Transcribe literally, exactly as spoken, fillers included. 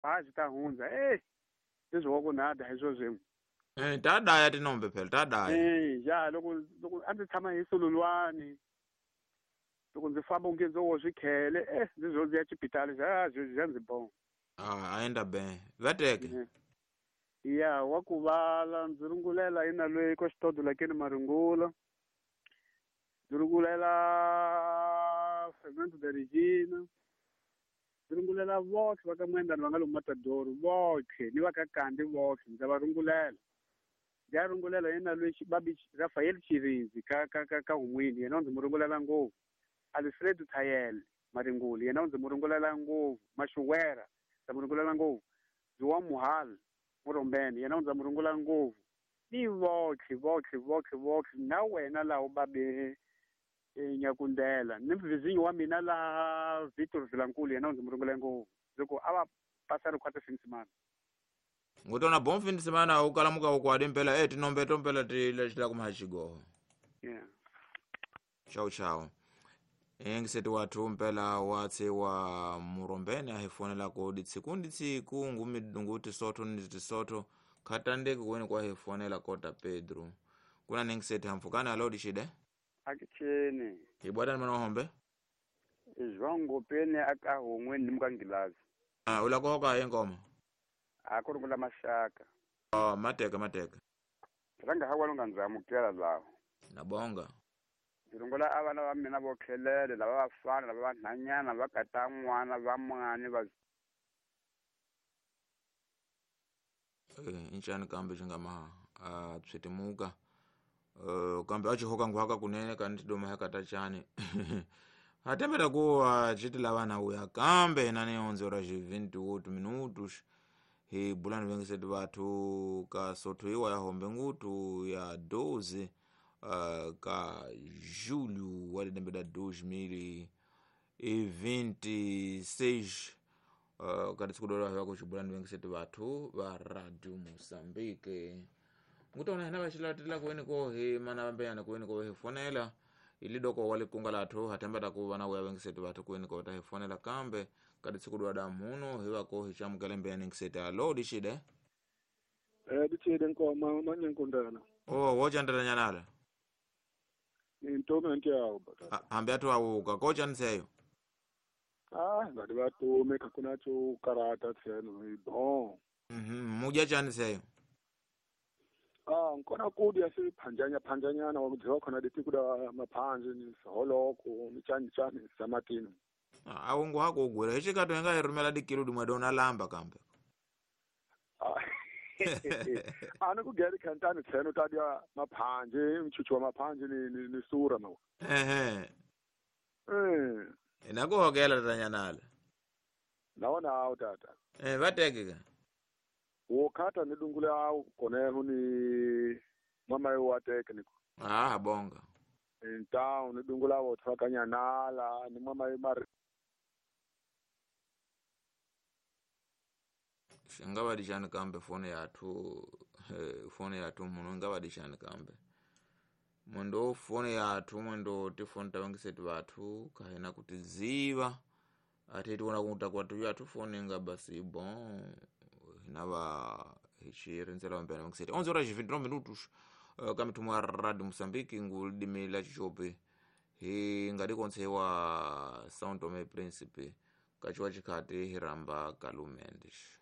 a swi ta hundza eh leswi wa ku nada hi swo swin'we eh ta daya tinombe phela ta daya eh ya loko loko a ndzi tshama hi sululwani loko ndzi famba onge ndzo wo swikhele eh ndzi zo ndzi ya xipitali xa xa ndzi bon ah aenda ben vateke ya wa ku vala ndzi rungulela ina loyi ko xitodo lakeni maringula ndzi rungulela Fernando de Regina ndzi rungulela votlhe va ka Mwendani va nga lomu Matador votlhe ni va ka Kandi votlhe ndza va rungulela ndzi ya rungulela yena loyi babi Rafael Chirindzi ka ka ka ka Humwini yena ndzi mu rungulela ngopfu Alfredo Thayele Maringuli yena ndzi mu rungulela ngopfu Mashuwera ndza mu rungulela ngopfu Zuwa Muhal Murombeni yena ndza mu rungula ngopfu ni votlhe votlhe votlhe votlhe na wena laha u babe Nyakundela ni mvizinyo wa mina laha Victor Vilankulu yena ndzi mu rungula ngopfu loko a va pasa ri khwata finsimana ngutona bom fin de semana u kalamuka u kwadi mpela eh tinombe tompela ti lexila kuma xigoho yeah chao chao engiseti wathu mpela watse wa Murombeni a hi fonela ko ditsiku nditsiku ngumi nguti soto ni tisoto khatandeki kweni kwa hi fonela kota Pedro kuna nengiseti hamfukana alo dishide akicheni ibwata mana hombe izwango pene akahongwe ni mukangilazi ah ulakoka yengoma akurungula mashaka oh mateka mateka ranga hawa lunga nzamukela lawo nabonga ndzi avana va mina vo khelele lava vafana lava vanhanyana va kata n'wana va mwani va eh inchani kambe xingama a tswitimuka eh kambe a xihoka nguhaka kunene kanti doma hakata chani hatembela ku chiti lavana uya kambe nani onze horas e vinte e oito minutos hi bulani vengiseti vathu ka sotho iwa ya hombe ngutu ya doze Uh, ka julho wa lembe da dois mil e vinte e seis uh, ka tsikudora ya kuchibulani vengiseti vathu va Radio Mozambique ngutona hina vaxilatela kuweni ko hi mana vambeyana kuweni ko hi fonela ilidoko wa likunga lathu hatemba ta ku vana uya vengiseti vathu kuweni ko ta hi fonela kambe ka tsikudora da muno hi va ko hi chamukele mbeyana ngiseti alo dishide eh dishide nkoma manyankundana oh wochandela nyanala Ntomi ntiyawo bata. Hambi atu awuka kocha nseyo. Ah, ngati vatume kakuna cho karata tseno bon. Mhm, muja chani seyo. Ah, nkona kudya si phanjanya phanjanyana wakudziwa khona leti kuda maphanji ni holoko ni chani chani samatini. Ah, awungu hako ugwira hichikato enga irumela dikilo dimwe dona lamba kambe. Ah. Ana kugeri khantani tseno tadya maphanji mchuchu wa maphanji ni ni, ni sura mawa. Ehe. Eh. Inakuhokela tanyanala. Naona awu tata. Eh vatekeka. Wokata nidungule awu koneho ni mama yo wateke niko. Ah bonga. Ntawu nidungula wo tsakanyanala ni mama yo mari. Ngavadishani kambe fone yathu eh, fone yathu muno ngavadishani kambe mwendo fone yathu mwendo tifone tavangiseti vathu kahena kutiziva ati tiona kuta kwatu yathu fone nga basi bon hinava hichirinzela vambena vangiseti onze horas e vinte e nove minutos uh, kamithumwa ya Radio Mozambique ngulidimi la Chichope hi ngadikonsewa São Tomé Príncipe kachiwa chikhati hiramba Kalumendes.